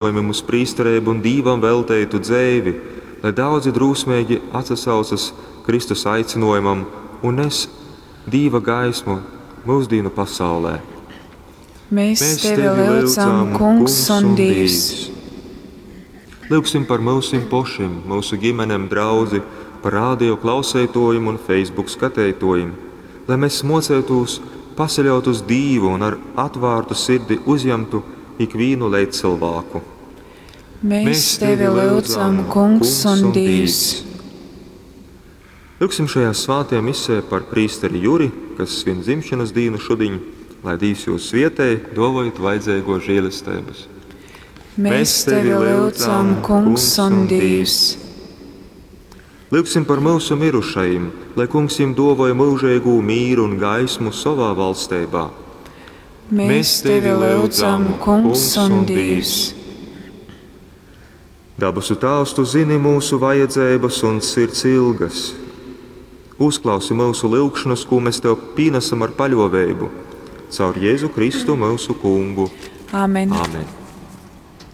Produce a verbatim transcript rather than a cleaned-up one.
Aicinojumim uz prīstereibu un Dīvam velteitu dzeivi, lai daudzi drūsmeigi atsasaucas Kristus aicinojumam un nes Dīva gaismu myusdīnu pasaulē. Mēs, Mēs tevi lyudzam, Kungs un Dīvs. Lyugsim par myusim pošim, myusu ģimenem, draudzi, par radio klauseitōjim un Facebook skateitōjim, lai mēs mocētūs pasaļaut uz Dīvu un ar atvārtu sirdi uzņemtu ikvīnu leidzcilvāku. Mēs, Mēs tevi lyudzam, Kungs un Dīvs. Lyugsim šajā svētajā misē par prīsteri Juri, kas svin dzimšanas dīnu šudiņ, lai Dīvs jūs svietē, dovojot vajadzīgo žēlestības. Mēs tevi lyudzam, Kungs un Dīvs. Lyugsim par mūsu mirušajiem, lai Kungs viņiem dovoja mūžīgu mīru un gaismu savā valstībā. Mēs tevi lyudzam, Kungs un Dīvs. Dabasu Tēvs, tu zini mūsu vajadzības un sirds ilgas. Uzklausi mūsu lūgšanas, ko mēs tev pienesam ar paļāvību, caur Jēzu Kristu mūsu Kungu. Āmen. Āmen.